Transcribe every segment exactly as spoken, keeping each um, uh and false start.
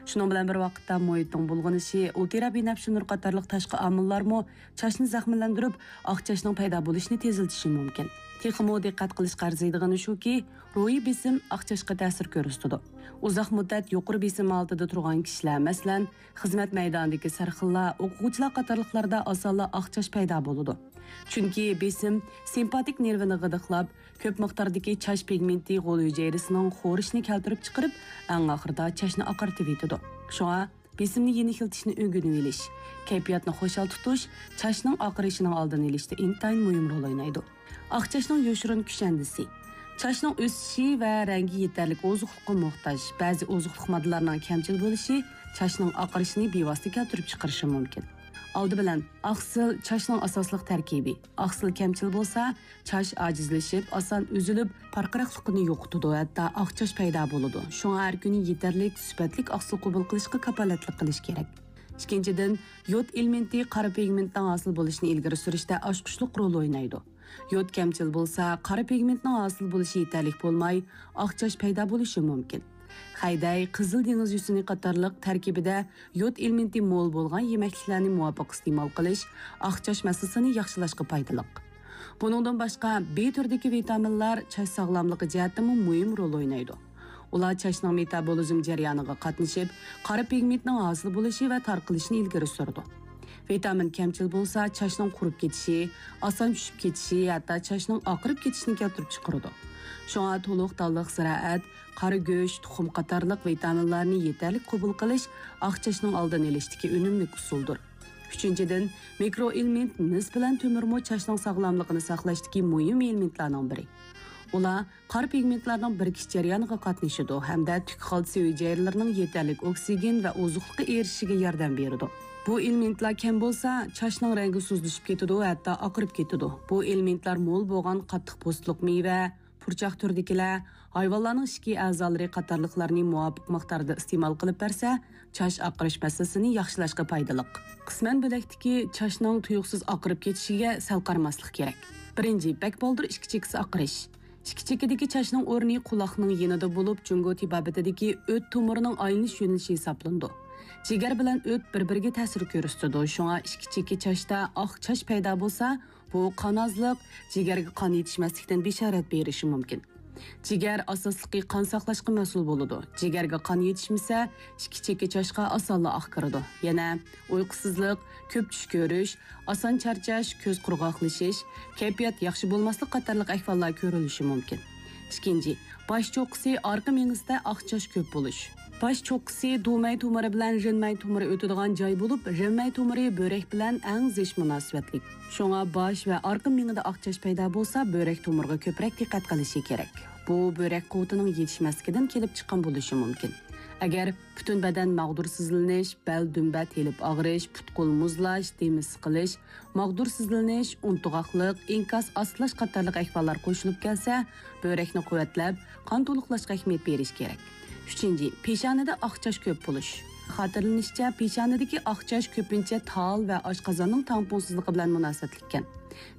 شۇنىڭ بىلەن بىر ۋاقىتتا، مۇھىتنىڭ بۇلغىنىشى، ئۇلترا بىنەپشە نۇر قاتارلىق تاشقى ئامىللارمۇ چاچنى زەخىملەندۈرۈپ، ئاق چاچنىڭ پەيدا بولۇشىنى تېزلىتىشى مۇمكىن. تېخىمۇ دىققەت قىلىشقا ئەرزىيدىغىنى شۇكى، روھىي بېسىم ئاق چاچقا تەسىر كۆرسىتىدۇ. ئۇزاق مۇددەت يۇقىرى بېسىم ھالىتىدە تۇرغان كىشىلەر، مەسىلەن، خىزمەت مەيدانىدىكى سەرخىللار، ئوقۇغۇچىلار قاتارلىقلاردا ئاسانلا ئاق چاچ پەيدا بولىدۇ. چۈنكى بېسىم سىمپاتىك نېرۋىنى غىدىقلاپ، كۆپ مىقداردىكى چاچ پىگمېنتى غول ھۈجەيرىسىنىڭ خورىشىنى كەلتۈرۈپ چىقىرىپ، ئەڭ ئاخىرىدا چاچنى ئاقارتىۋېتىدۇ. شۇڭا بېسىمنى يېنىكلىتىشنى ئۆگىنىۋېلىش، كەيپىياتنى خۇشال تۇتۇش چاچنىڭ ئاقىرىشىنىڭ ئالدىنى ئېلىشتا ئىنتايىن مۇھىم رول ئوينايدۇ. ئاق چاچنىڭ يوشۇرۇن كۈشەندىسى. چاچنىڭ ئۆسۈشى ۋە رەڭگى يېتەرلىك ئوزۇقلۇققا موھتاج. بەزى ئوزۇقلۇق ماددىلارنىڭ كەمچىل بولۇشى چاچنىڭ ئاقىرىشىنى بىۋاسىتە كەلتۈرۈپ چىقىرىشى مۇمكىن. ئالدى بىلەن، ئاقسىل چاچنىڭ ئاساسلىق تەركىبى. ئاقسىل كەمچىل بولسا، چاچ ئاجىزلىشىپ، ئاسان ئۈزۈلۈپ، پارقىراقلىقىنى يوقىتىدۇ، ھەتتا ئاق چاچ پەيدا بولىدۇ. شۇڭا ھەر كۈنى يېتەرلىك، سۈپەتلىك ئاقسىل قوبۇل قىلىشقا كاپالەتلىك قىلىش كېرەك. ئىككىنچىدىن، يود ئېلېمېنتى قارا پىگمېنتنىڭ ھاسىل بولۇشىنى ئىلگىرى سۈرۈشتە ئاچقۇچلۇق رول ئوينايدۇ. يود كەمچىل بولسا، قارا پىگمېنتنىڭ ھاسىل بولۇشى يېتەرلىك بولماي، ئاق چاچ پەيدا بولۇشى مۇمكىن. خەيدەي، قىزىل دېڭىز يۈسۈنى قاتارلىق تەركىبىدە يود ئېلېمېنتى مول بولغان يېمەكلىكلەرنى مۇۋاپىق ئىستېمال قىلىش ئاق چاچ مەسىلىسىنى ياخشىلاشقا پايدىلىق. بۇنىڭدىن باشقا، بى تۈرىدىكى ۋىتامىنلار چاچ ساغلاملىقى جەھەتتىمۇ مۇھىم رول ئوينايدۇ. ئۇلار چاچنىڭ مېتابولىزم جەريانىغا قاتنىشىپ، قارا پىگمېنتنىڭ ھاسىل بولۇشى ۋە تارقىلىشىنى ئىلگىرى سۈرىدۇ. ۋىتامىن كەمچىل بولسا، چاچنىڭ قۇرۇپ كېتىشى، ئاسان چۈشۈپ كېتىشى، ھەتتا چاچنىڭ ئاقىرىپ كېتىشىنى كەلتۈرۈپ چىقىرىدۇ. شۇڭا تولۇق دانلىق زىرائەت، قارا گۆش، تۇخۇم قاتارلىق ۋىتامىنلارنى يېتەرلىك قوبۇل قىلىش ئاق چاچنىڭ ئالدىنى ئېلىشتىكى ئۈنۈملۈك ئۇسۇلدۇر. ئۈچىنچىدىن، مىكرو ئېلېمېنت مىس بىلەن تۆمۈرمۇ چاچنىڭ ساغلاملىقىنى ساقلاشتىكى مۇھىم ئېلېمېنتلارنىڭ بىرى. ئۇلار قارا پىگمېنتلارنىڭ بىرىكىش جەريانىغا قاتنىشىدۇ ھەمدە تۈك خالتىسى ھۈجەيرىلىرىنىڭ يېتەرلىك ئوكسىگېن ۋە ئوزۇقلۇققا ئېرىشىشىگە ياردەم بېرىدۇ. بۇ ئېلېمېنتلار كەم بولسا، چاچنىڭ رەڭگى سۇسلىشىپ كېتىدۇ، ھەتتا ئاقىرىپ كېتىدۇ. بۇ ئېلېمېنتلار مول بولغان قاتتىق پوستلۇق مېۋە، پۇرچاق تۈرىدىكىلەر، ھايۋانلارنىڭ ئىچكى ئەزالىرى قاتارلىقلارنى مۇۋاپىق مىقداردا ئىستېمال قىلىپ بەرسە، چاچ ئاقىرىش مەسىلىسىنى ياخشىلاشقا پايدىلىق. قىسمەن بۆلەكتىكى چاچنىڭ تۇيۇقسىز ئاقىرىپ كېتىشىگە سەل قارىماسلىق كېرەك. بىرىنچى، بەك بالدۇر ئىككى چېكىسى ئاقىرىش. ئىككى چېكىدىكى چاچنىڭ ئورنى قۇلاقنىڭ يېنىدا بولۇپ، جۇڭگو تېبابىتىدىكى ئۆت تومۇرىنىڭ ئايلىنىش يۆنىلىشى ھېسابلىنىدۇ. جىگەر بىلەن ئۆت بىر-بىرىگە تەسىر كۆرسىتىدۇ، شۇڭا ئىككى چېكى چاچتا ئاق چاچ پەيدا بولسا، بۇ قان ئازلىق، جىگەرگە قان يېتىشمەسلىكتىن بېشارەت بېرىشى مۇمكىن. جىگەر ئاساسلىقى قان ساقلاشقا مەسئۇل بولىدۇ. جىگەرگە قان يېتىشمىسە، ئىككى چېكى چاچقا ئاسانلا ئاق كىرىدۇ. يەنە ئۇيقۇسىزلىق، كۆپ چۈش كۆرۈش، ئاسان چارچاش، كۆز قۇرغاقلىشىش، كەيپىيات ياخشى بولماسلىق قاتارلىق ئەھۋاللار كۆرۈلۈشى مۇمكىن. ئىككىنچى، باش چوققىسى، ئارقا مېڭىسىدە ئاق چاچ كۆپ بولۇش. باش چوققىسى دۇمەي تومۇرى بىلەن رېنمەي تومۇرى ئۆتىدىغان جاي بولۇپ، رېنمەي تومۇرى بۆرەك بىلەن ئەڭ زىچ مۇناسىۋەتلىك. شۇڭا باش ۋە ئارقا مېڭىدە ئاق چاچ پەيدا بولسا، بۆرەك تومۇرىغا كۆپرەك دىققەت قىلىشى كېرەك. بۇ بۆرەك قۇۋۋىتىنىڭ يېتىشمەسلىكىدىن كېلىپ چىققان بولۇشى مۇمكىن. ئەگەر پۈتۈن بەدەن ماغدۇرسىزلىنىش، بەل دۈمبە تېلىپ ئاغرىش، پۇت-قول مۇزلاش، دېمى سىقىلىش، ماغدۇرسىزلىنىش، ئۇنتۇغاقلىق، ئىنكاس ئاستىلاش قاتارلىق ئەھۋاللار قوشۇلۇپ كەلسە، بۆرەكنى قۇۋۋەتلەپ، قان تولۇقلاشقا ئەھمىيەت بېرىش كېرەك. ئۈچىنچى، پېشانىدە ئاق چاچ كۆپ بولۇش. خاتىرىلىنىشىچە، پېشانىدىكى ئاق چاچ كۆپىنچە تال ۋە ئاشقازاننىڭ تەڭپۇڭسىزلىقى بىلەن مۇناسىۋەتلىككەن.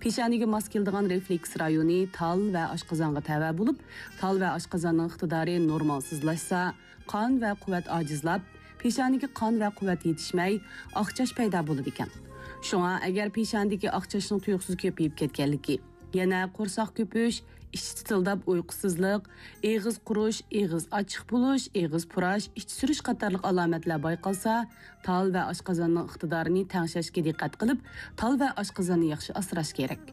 پېشانىگە ماس كېلىدىغان رېفلېكس رايونى تال ۋە ئاشقازانغا تەۋە بولۇپ، تال ۋە ئاشقازاننىڭ ئىقتىدارى نورمالسىزلاشسا، قان ۋە قۇۋۋەت ئاجىزلاپ، پېشانىگە قان ۋە قۇۋۋەت يېتىشمەي، ئاق چاچ پەيدا بولىدىكەن. شۇڭا، ئەگەر پېشانىدىكى ئاق چاچنىڭ تۇيۇقسىز كۆپىيىپ كەتكەنلىكى، يەنە قورساق كۆپۈش، ئىچ چىتىلداپ ئۇيقۇسىزلىق، ئېغىز قۇرۇش، ئېغىز ئاچچىق بولۇش، ئېغىز پۇراش، ئىچ سۈرۈش قاتارلىق ئالامەتلەر بايقالسا، تال ۋە ئاشقازاننىڭ ئىقتىدارىنى تەڭشەشكە دىققەت قىلىپ، تال ۋە ئاشقازاننى ياخشى ئاسراش كېرەك.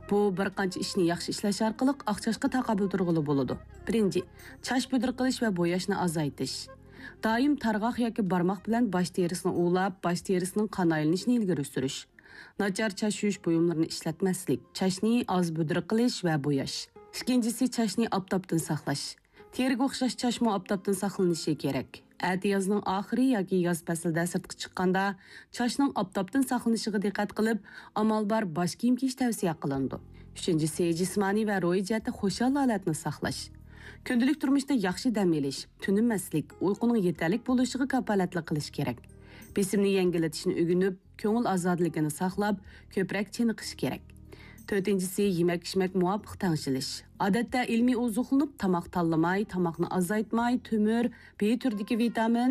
بۇ بىر قانچە ئىشنى ياخشى ئىشلەش ئارقىلىق ئاق چاچقا تاقابىل تۇرغىلى بولىدۇ. بىرىنچى، چاچ بۈدرە قىلىش ۋە بوياشنى ئازايتىش. دائىم تارغاق ياكى بارماق بىلەن باش تېرىسىنى ئۇۋىلاپ، باش تېرىسىنىڭ قان ئايلىنىشىنى ئىلگىرى سۈرۈش. ناچار چاچ يۇيۇش بۇيۇملىرىنى ئىشلەتمەسلىك، چاچنى ئاز بۈدرە قىلىش ۋە بوياش. ئىككىنچىسى، چاچنى ئاپتاپتىن ساقلاش. تېرىگە ئوخشاش چاچمۇ ئاپتاپتىن ساقلىنىشى كېرەك. ئەتىيازنىڭ ئاخىرى ياكى ياز پەسلىدە سىرتقا چىققاندا، چاچنىڭ ئاپتاپتىن ساقلىنىشىغا دىققەت قىلىپ، ئامال بار باش كىيىم كىيىش تەۋسىيە قىلىنىدۇ. ئۈچىنچىسى، جىسمانىي ۋە روھىي جەھەتتە خۇشال ھالەتنى ساقلاش. كۈندىلىك تۇرمۇشتا ياخشى دەم ئېلىش، تۈنىمەسلىك، ئۇيقۇنىڭ يېتەرلىك بولۇشىغا كاپالەتلىك قىلىش كېرەك. بېسىمنى يەڭگىللىتىشنى ئۆگىنىپ، كۆڭۈل ئازادىلىكىنى ساقلاپ، كۆپرەك چېنىقىش كېرەك. تۆتىنچىسى، يېمەك-ئىچمەك مۇۋاپىق تەڭشىلىش. ئادەتتە ئىلمىي ئوزۇقلىنىپ، تاماق تاللىماي، تاماقنى ئازايتماي، تۆمۈر، بى تۈرىدىكى ۋىتامىن،